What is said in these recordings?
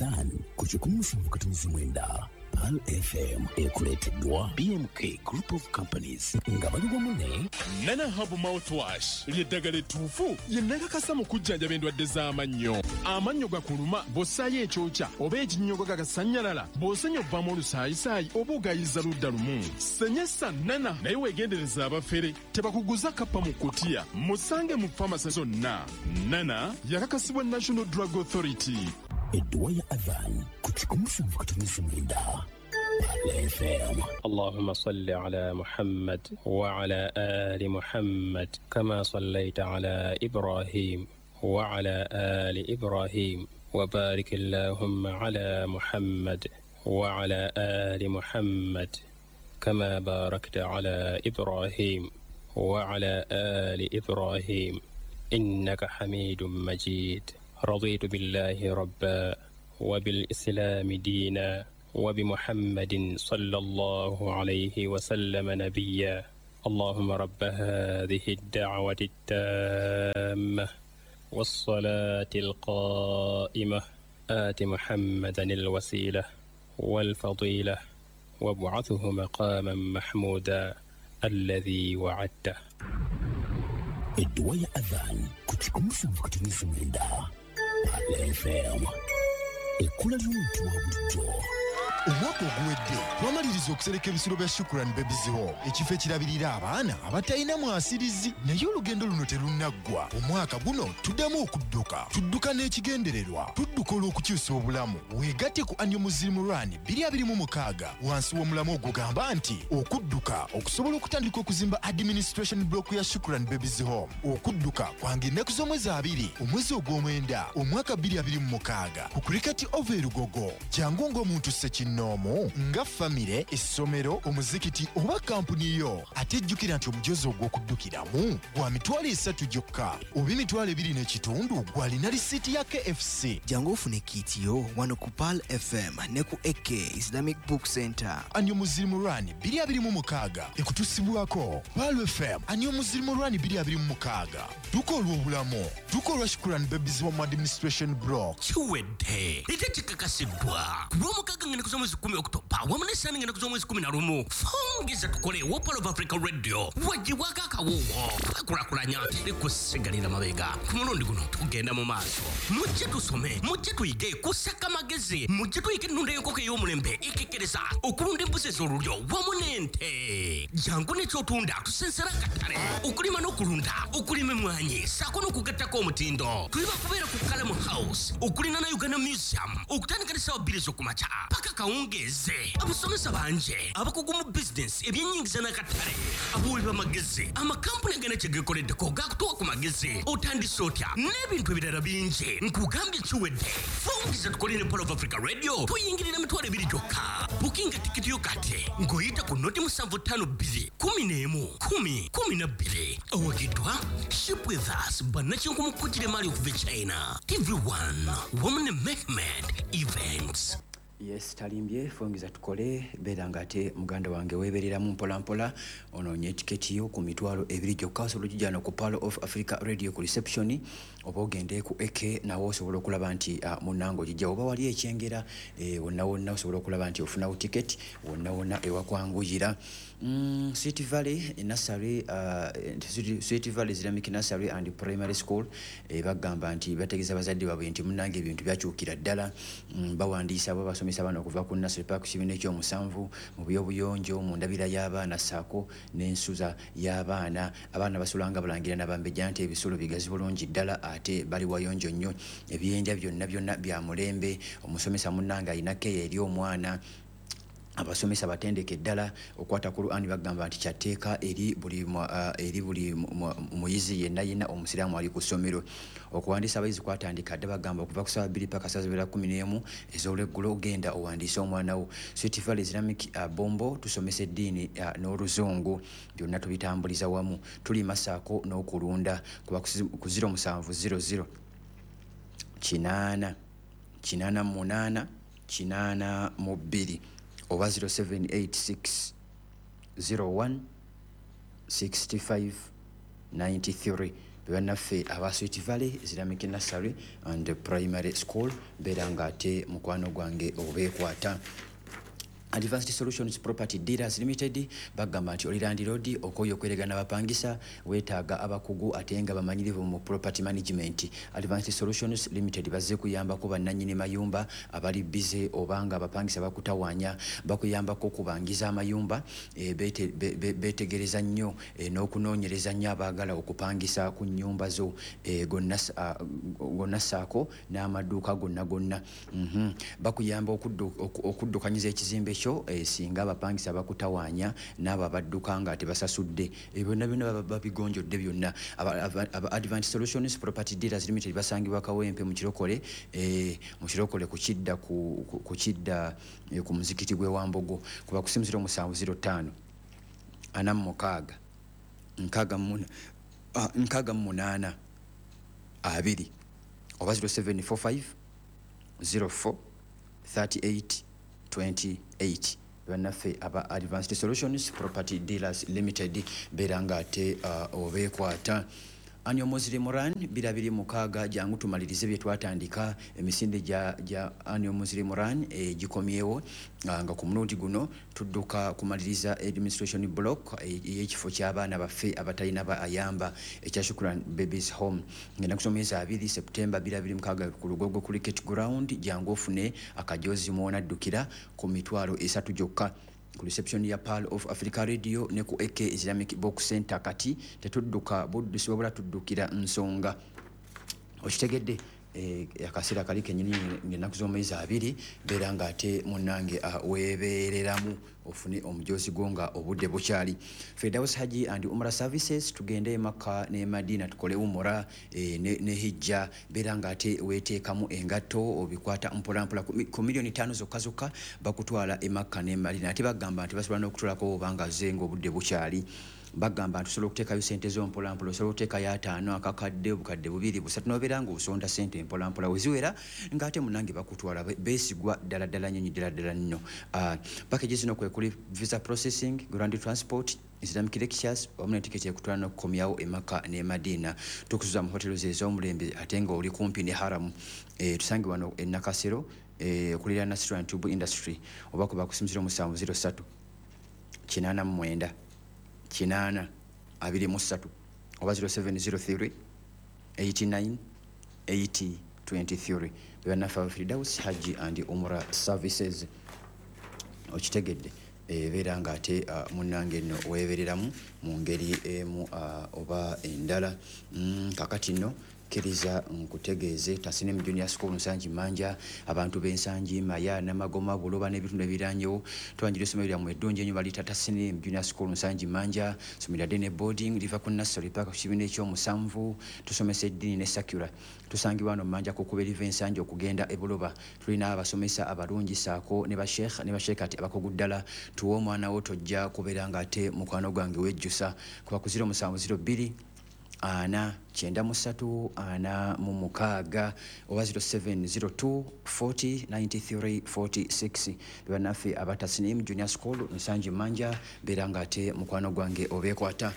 Adhan ku 107.9 Pearl FM ekuleeteddwa BMK Group of Companies nga bali wamu ne Nana Herbal Mouthwash ly'eddagala ettuufu ye nakakasa mu kujjanjaba endwadde z'amannyo. Amannyo gakuluma bw'ossaayo ekyokya oba ekinnyogo gagasannyalala, bw'osenya ovaamu olusaayisaayi oba ogayiza ludda lumu. Senyesa Nana naye weegendereza abafere tebakuguza kappa mu kutiya. Musange mu famasi zonna. Nana yakakasibwa National Drug Authority. Edduwa ya Adhan ku 107.9 Pearl FM. اللهم صل على محمد وعلى آل محمد كما صليت على إبراهيم وعلى آل إبراهيم وبارك اللهم على محمد وعلى آل محمد كما باركت على إبراهيم وعلى آل إبراهيم إنك حميد مجيد. رضيت بالله ربا وبالإسلام دينا وبمحمد صلى الله عليه وسلم نبيا. اللهم رب هذه الدعوة التامة والصلاة القائمة آت محمدا الوسيلة والفضيلة وابعثه مقاما محمودا الذي وعدته. Edduwa ya Adhan ku 107.9 Pearl FM, ekkula ly'omuntu wa bulijjo. Omwaka oguwedde twamaliriza okusereka ebisulo bya Shukran Babies Home, ekifo ekirabirira abaana abatalina mwasirizi, naye olugendo luno terunnaggwa. Omwaka guno tuddamu okudduka, tudduka n'ekigendererwa, tudduka olw'okukyusa obulamu. Weegatte ku Annual Muslim Run 2026 wansi w'omulamwa ogugamba nti okudduka okusobola okutandika okuzimba administration block ya Shukran Babies Home. Okudduka kwanga ennaku z'omwezi 2 omwezi ogw'omwenda omwaka 2026 ku Cricket Oval e Lugogo. Jangu ng'omuntu ssekinnoomu, nga famire, essomero, omuzikiti oba kampuni yo. Ate jjukira nti omujoozi ogw'okuddukiramu gwa 30,000 gyokka oba 25,000 gw'alina risiiti ya KFC. Jangu ofune kit yo wano ku Pearl FM ne ku AK Islamic Book Center. Annual Muslim Run 2026 ekutusibwako Pearl FM. Annual Muslim Run 2026, dduka olw'obulamu, dduka olwa Shukran Babies Home Administration Block. Kiwedde ate kikakasiddwa ku Lwomukaaga ng'ennaku z'omwezi 10 Okutoba wamu n'Essaani ng'ennaku z'omwezi 11. Fongeza Tukole wa Pearl of Africa Radio wagibwako akawuwo. Twekulakulanya, teri kusigalira mabega. Ku mulundi guno tugenda mu maaso. Mujje tusome, mujje tuyige kusaka magezi, mujje tuyige ennunda y'enkoko ey'omulembe ekekkereza, okulunda embuzi ez'olulyo wamu n'ente. Jangu n'ekyotunda tusensera akatale, okulima n'okulunda, okulima emmwanyi ssaako n'okugattako omutindo. Tuli bakubeera ku Kalamu House okulina na Uganda Museum okutandika ne ssaawa 2 ez'okumakya paka kawungeeze. Abasomesa bangi abakugu mu bizinensi, ebyenyingiza n'akatale, abawi b'amagezi, amakampuni agana kye geekoleddeko gakutuwa ku magezi, otandise otya n'ebintu ebirala bingi. Nkugambye kiwedde. Fungiza Tukole ne Pearl of Africa Radio tuyingirira 20,000 gyokka. Bukinga tikiti yo kati ng'oyita ku 0752 11 10 12. Owagiddwa Ship With Us, bannakinku mu kukujira emaali okuva e China, TV1 wamu ne Mehmed Events. Yes, talimbye. Fongeza Tukole, beera nga ate muganda wange weebereramu mpola mpola, onoonye etiketi yo ku 20,000 gyokka. Osobola okugijjana ku Pearl of Africa Radio ku reception oba ogende ku AK, nawe osobola okulaba nti munnange ogijja, oba wali ekyengera wonna wonna osobola okulaba nti ofunawo tiketi wonna wonna ewakwanguyira. Sweet Valley Nursery, Sweet Valley Islamic Nursery and Primary School bagamba nti bategeeza bazadde baabwe nti munnange ebintu byakyukira ddala. Bawandiisa abo basomesa abaana okuva ku nursery paka ku kibiina ekyomusanvu mu byobuyonjo, mu ndabira y'abaana ssaako n'ensuza y'abaana. Abaana basulanga balangira n'abambejja nti ebisulo bigazi bulungi ddala ate bali wayonjo nnyo, ebyenja byonna byonna bya mulembe. Omusomesa munnange alina keya eri omwana, abasomesa batendeke ddala okwata Qur'an. Bagamba nti kyatteeka eri buli muyizi yenna yenna omusiraamu ali ku ssomero. Okuwandiisa abayizi kwatandika dda, bagamba okuva ku ssaawa 2 paka ssaawa zibeera 11 ez'olweggulo. Genda owandiise omwana wo. Sweet Valley Islamic Bombo tusomesa eddiini n'oluzungu, byonna tubitambuliza wamu, tulima ssaako n'okulunda. Kuba ku 0700 8 88 82 oba 0786 01 65 93. Bannaffe aba Sweet Valley Islamic Nursery and Primary School, beera ng'ate mukwano gwange obeekwata. Advanced Solutions Property Dealers Limited bagamba nti oli landlord okooye okweregana abapangisa, weetaaga abakugu ate nga bamanyirivu mu property management. Advanced Solutions Limited bazze kuyambako bannannyini mayumba abali bize oba nga abapangisa bakutawaanya. Bakuyambako okubangiza amayumba, beetegereza nnyo n'okunoonyereza nnyo abaagala okupangisa ku nnyumba zo gonna ssaako n'amaduuka gonna gonna. Bakuyamba okuddukanyiza ekizimbe ekyo singa abapangisa bakutawaanya n'abo abadduka nga tebasasudde. Ebyo byonna byonna babigonjodde byonna. Aba Advanced Solutions Property Dealers Limited basangibwa Kawempe mu Kirokole, ku kidda ku kidda ku muzikiti gw'e Wambogo. Kuba ku simu 0705 46 68 2 oba 0745 04 38 28. Bannaffe aba Advanced Solutions Property Dealers Limited, beera nga ate obeekwata. Annual Muslim Run 2026, jangu tumalirize bye twatandika. Emisinde gya Annual Muslim Run gikomyewo, nga ku mulundi guno tudduka kumaliriza administration block ey'ekifo ky'abaana baffe abatalina ayamba ekya Shukran Babies Home, ngenda kusoma mwezi 2 September 2026 ku Lugogo Cricket Ground. Jangu ofune akajozi mw'onaddukira ku 30,000 gyokka ku reception ya Pearl of Africa Radio ne ku AK Islamic Book Center. Kati tetudduka buddusi, wabula tuddukira nsonga. Okitegedde? Akaseera kali kenyini ng'ennaku z'omwezi 2, beera ng'ate munnange weebeereramu ofune omujozi gwo nga obudde bukyali. Firdaus Haji and Umrah Services, tugende e Makka ne Madina tukole umura ne hijja. Beera ng'ate weeteekamu engatto, obikwata mpolampola. Ku 5 miliyoni zokka zokka bakutwala e Makka ne Madina. Ate bagamba nti basobola n'okutulako obanga ze ng'obudde bukyali. Bagamba nti osobola okuteekayo sente zo mpolampola, osobola okuteekayo 50, akakadde, 2,000, 3,000, nobeera ng'osonda sente mpolampola, weziwera ng'ate munange bakutwala. Beesigwa ddala ddala nnyonyi ddala ddala nnyo. Package zino kwe kuli visa processing, ground transport, Islamic lectures wamu ne tiketi ekutwala n'okukomyawo e Makka ne Madina. Tukusuza mu hotels ez'omulembe ate nga oli kumpi ne haramu. Tusange wano e Nakasero, okuliraana Nasran Tube Industry, oba kuba ku simu 0703 89 80 23 oba 0703 89 80 23. Bannaffe aba Firdaus Hajji and Umrah Services. Okitegedde? Ebeera ng'ate munnange nno weebereramu mu ngeri emu oba endala. Kakati nno kkiriza nkutegeeze Tasinem Junior School Nsangi Manja. Abantu b'Ensangi, Maya, Namagoma, Buloba n'ebitundu ebiranyewo, twanjira essomero lyammwe eddungi ennyo baliyita Tasinem Junior School Nsangi Manja. Somero lya day ne boarding, liva ku nursery paka ku kibiina ekyomusanvu. Tusomesa eddiini ne secular. Tusangibwa wano Manja ku kkubo eriva Ensangi okugenda e Buloba. Tulina abasomesa abalungi saako ne basheekh ne basheekati abakugu ddala. Tuwe omwana wo, tojja kubeera ng'ate mukwano gwange wejjusa. Kuba ku 0702 4 93 46 oba 0702 40 93 46. Bannaffe aba Tasnim Junior School Nsangi Manja, beera ng'ate mukwano gwange obeekwata.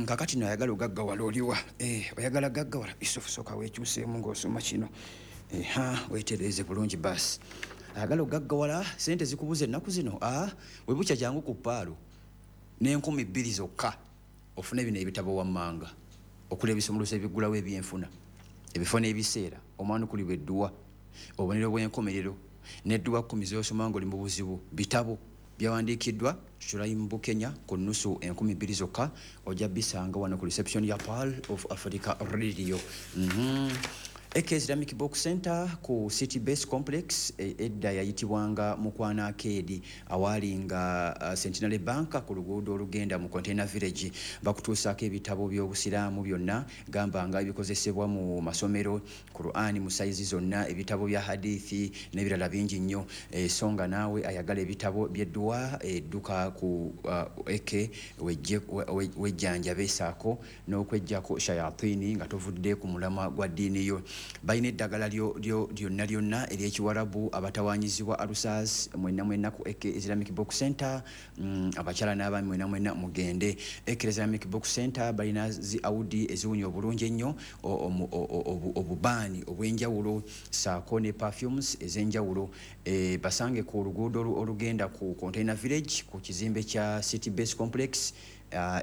Kakati no ayagala ogaggawala oliwa? Oyagala gaggawala? Yusufu, sooka weekyuseemu ng'osoma kino. Ha, weetereeze bulungi. Baasi ayagala ogaggawala, sente zikubuza ennaku zino, we bukya jangu ku Pearl n'2,000 zokka ofune bino ebitabo wammanga okuli ebisumuluzo ebiggulawo ebyenfuna, ebifo n'ebiseera, omwanukulibwa edduwa, obubonero bw'enkomerero n'edduwa 10 z'osoma ng'oli mu buzibu. Bitabo byawandiikiddwa Shuraim Bukenya. Ku nnusu 2,000 zokka ojja bisanga wano ku reception ya Pearl of Africa Radio. AK Islamic Book Center ku City Base Complex, edda yayitibwanga Mukwana Arcade, awaali nga Centenary Bank ku luguudo olugenda mu Container Village. Bakutuusaako ebitabo by'obusiraamu byonna, gamba nga ebikozesebwa mu masomero, Qur'ani mu sayizi zonna, ebitabo bya hadithi n'ebirala bingi nnyo. So nga naawe ayagala ebitabo by'edduwa, edduka ku AK wejjanjabe saako n'okweggyako shayatini nga tovudde ku mulamwa gwa ddiini yo. Balina eddagala lyonna lyonna ery'ekiwarabu, abatawanyizibwa alusas, mwenna mwenna ku AK Islamic Book Center. Abakyala n'abaami mwenna mwenna mugende AK Islamic Book Center. Balina zi audi eziwunya obulungi ennyo, obubaani obw'enjawulo saako ne perfumes ez'enjawulo. Basange ku luguudo olugenda ku Container Village, ku kizimbe kya City Base Complex,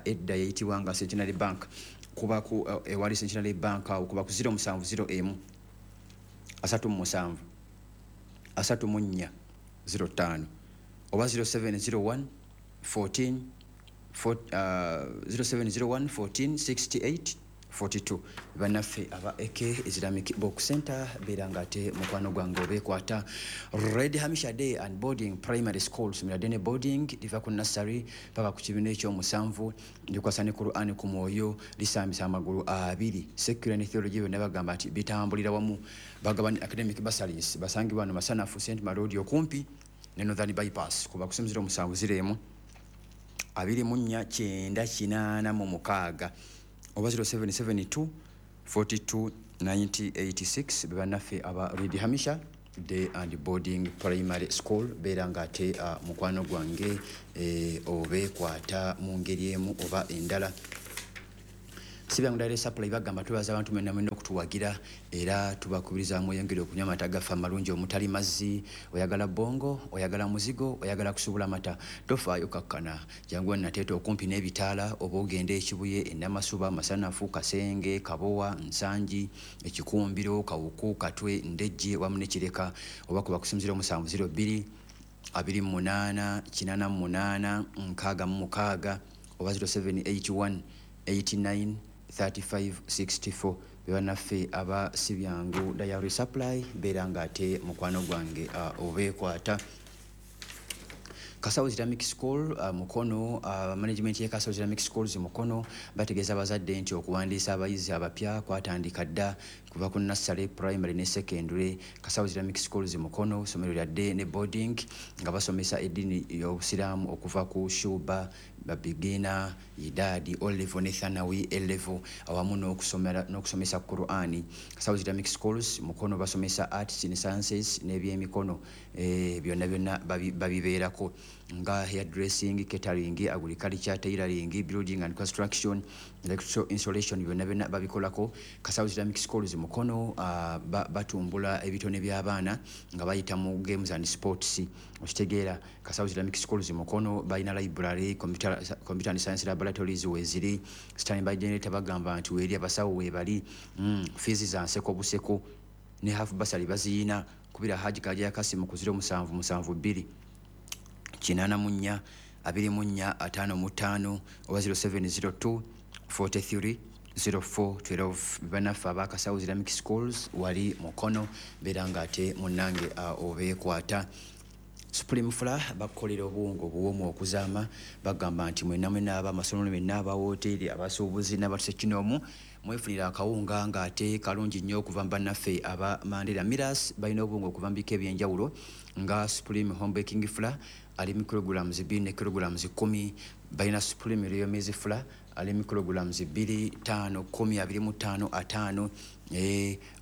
edda yayitibwanga Centenary Bank. Kuba ku ewali Centenary Bank awo, kuba ku 0701 37 34 05 oba 0701 14 0701 14 68 42. Bannaffe aba AK Islamic Book Center, beera nga ate mukwano gwange obeekwata. Red Hamisha Day and Boarding Primary School, somero ddene boarding, liva ku nursery paka ku kibiina ekyomusanvu, likwasa ne Quran ku mwoyo, lisambisa amagulu abiri. Secular ne theology byonna bagamba nti bitambulira wamu. Bagaba ne academic bursaries. Basangibwa wano Masanafu St Marodi, okumpi ne Northern Bypass. Kuba ku 0701 24 986 oba 0772 42 9086. Bebannaffe aba Red Hamisha Day and Boarding Primary School, beera nga ate mukwano gwange obeekwata mu ngeri emu oba endala. Sibyangu Dairy Supply bagamba tubaza abantu mwenna mwenna okutuwagira, era tubakubiriza mweyongere okunywa amata gaffe amalungi omutali mazzi. Oyagala bongo, oyagala muzigo, oyagala kusubula mata, tofaayo, kakkana, jangu Nateete okumpi n'ebitaala, oba ogenda Ekibuye, Enamasuba, Masanafu, Kasenge, Kabowa, Nsangi, Ekikumbiro, Kawuku, Katwe, Ndejje wamu ne Kireka, oba kuba ku 0702 28 88 66 oba 0781 89 35 64. Bebannaffe aba Sibyangu Dairy Supply, beera nga ate mukwano gwange obeekwata. Kasawo Islamic School Mukono, management ya Kasawo Islamic Schools Mukono bategeeza abazadde nti okuwandiisa abayizi abapya kwatandika dda kuva ku nursery, primary ne secondary. Kasawo Islamic Schools Mukono ssomero lya day ne boarding, nga basomesa eddiini y'Obusiraamu okuva ku shuba, babigina, idadi, O level ne thanawi A level, awamu n'okusomesa Qur'ani. Kasawo Islamic Schools Mukono basomesa arts ne sciences n'ebyemikono, byonna byonna babibeerako, nga hairdressing, catering, agriculture, tailoring, building and construction, electrical installation, byonna byonna babikolako. Kasawo Islamic Schools Mukono batumbula ebitone by'abaana nga bayita mu games and sports, okitegeera? Kasawo Islamic Schools Mukono balina library, computer and science laboratories weziri, standby generator bagamba nti weeri, abasawo weebali, fees za nseko buseko, ne half bursary baziyina. Kubira Haji Kaja Kasimu ku 0772 84 24 55 oba 0702 43 04 12. Bannaffe abakasawo Islamic Schools wali Mukono, beera nga ate munnange obeekwata. Supreme Flour bakukolera obuwunga obuwoomu okuzaama. Bagamba nti mwenna mwenna abamasomero, mwenna abawoteeri, abasuubuzi n'abatuse kinoomu, mwefunira akawunga ng'ate kalungi nnyo okuva mu bannaffe aba Mandela Millers. Balina obuwunga okuva mu bika ebyenjawulo, nga Supreme Home Baking Flour ali mu kilograms 2 ne kilograms 10. Balina Supreme Royal Maize Flour ali mu kilograms 2, 5, 10, 25, 50.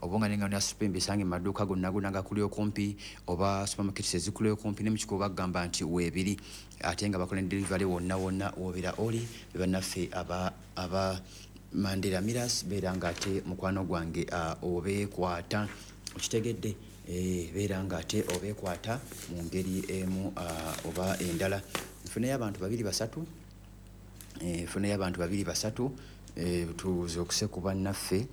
Obwonga n'engano ya Supreme bisange mu maduuka gonna gonna gakuli okumpi oba supermarkets ezikuli okumpi, ne mu kiko bagamba nti weebiri, ate nga bakola ne delivery wonna wonna wobeera oli. Be bannaffe aba Mandela Millers, beera nga ate mukwano gwange obeekwata, okitegedde? Beera nga ate obeekwata mu ngeri emu oba endala. Nfuneyo abantu babiri basatu, nfuneyo abantu babiri basatu, tuzuukuse ku bannaffe,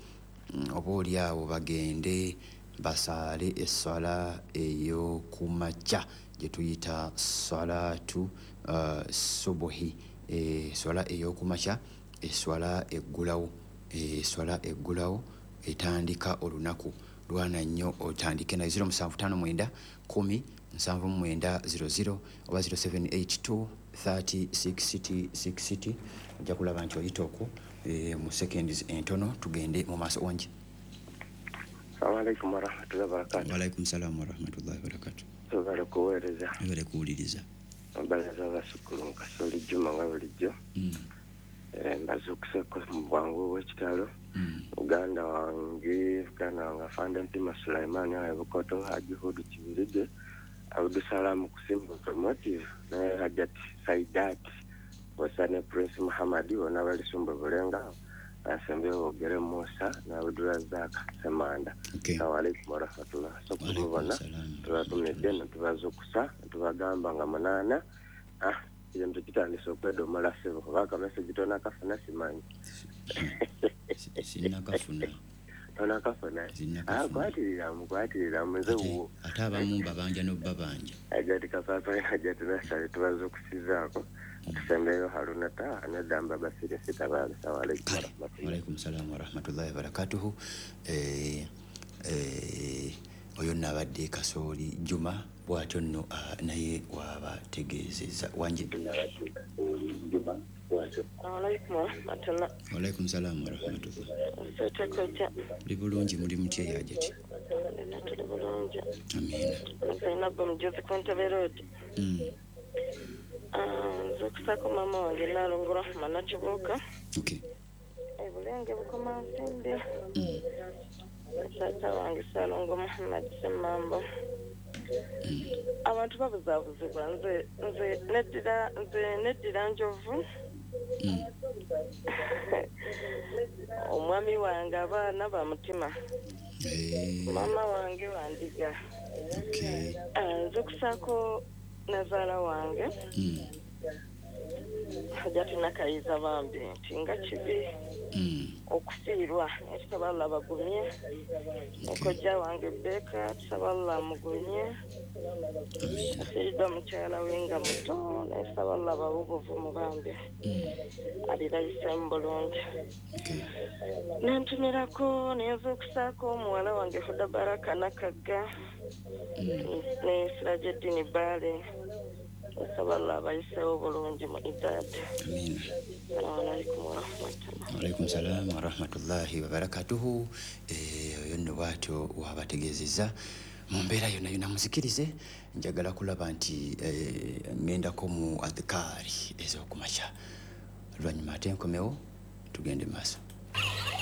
oba oli awo bagende basaale esswala ey'okumakya gye tuyita salatu subuhi, swala ey'okumakya, eswala eggulawo, eswala eggulawo etandika olunaku. Lwana nnyo otandike nayo. 0759 10 79 00 oba 0782 30 60 60. Ojja kulaba nti oyita okwo mu seconds entono tugende mu maaso. Wangi? Assalamu alaikum warahmatullahi wabarakatuh. Waalaikum salamu warahmatullahi wabarakatuh. Tubale kuweereza. Webale kuwuliriza. Mbalaza abasukulu Kasoli Juma nga bulijjo. Mbazukuseko mu bwangu obw'ekitalo. Uganda wange afande Mpima Sulaiman awe Bukoto, Haji Hudu Kibirige, Abdusalamu Kusimba Promotive, naye Hajat Saidat Wasane Prince Muhammad bonna bali Sumba Bulenga, asembeyo Ogere Musa na Abdurazak Semanda. Assalamu alaikum warahmatullah. So kubona tubatumidde ne tubazukusa tubagamba nga 8 ebintu kitandise okwedomola ssebo kubanga message tonakafuna simanyi. Sinnakafuna. Tonakafuna. Kwatirira nze wuwo. Ate abamu babanja n'obbabanja. Ajati kapapa ajati nasale tubazukusizaako. Tusembeyo Haruna ta anadamba basire sita. Assalamu alaikum warahmatullahi. Wa alaikum salam warahmatullahi wabarakatuhu. Oyo nabadde Kasooli Juma bw'atyo nno naye wabategeezezza wanje. Alaikum warahmatullah. Wa alaikum salam warahmatullah. Muli bulungi, muli mutya Hajati? Tuli bulungi. Amiina. Zainabu Mujuzi ku Ntebe Road. Nze okusako maama wange Nalongo Rahma Nakibuuka. Ebulenge Bukomansimbi. Taata wange Ssalongo Muhammad Ssemambo. Abantu babuzaabuzibwa. Nze neddira njovu. Omwami wange abaana ba mutima. Maama wange wandiga. Nze okusako nazaala wange Hajati Nakayiza bambi nti nga kibi okufiirwa, naye tusaba Allah bagumye. Kojja wange Beka tusaba Allah amugumye. Afiiriddwa mukyala we nga muto, naye tusaba Allah abawe obuvumu bambi alirayisemu bulungi. Nentumirako neyinza okusaako omuwala wange Huda Baraka Nakagga ne Sirajeddini Bbaale. Nsaba Allah abayiseewo bulungi mu ibaada. Amiina. Assalamu alaikum warahmatullahi. Wa alaikum salam warahmatullahi wabarakatuhu. Oyo nno bw'atyo wabategeezezza mu mbeera yonna yonna. Muzikirize, njagala kulaba nti ŋŋendako mu adhikaari ez'okumakya, oluvannyuma ate nkomewo tugende maaso.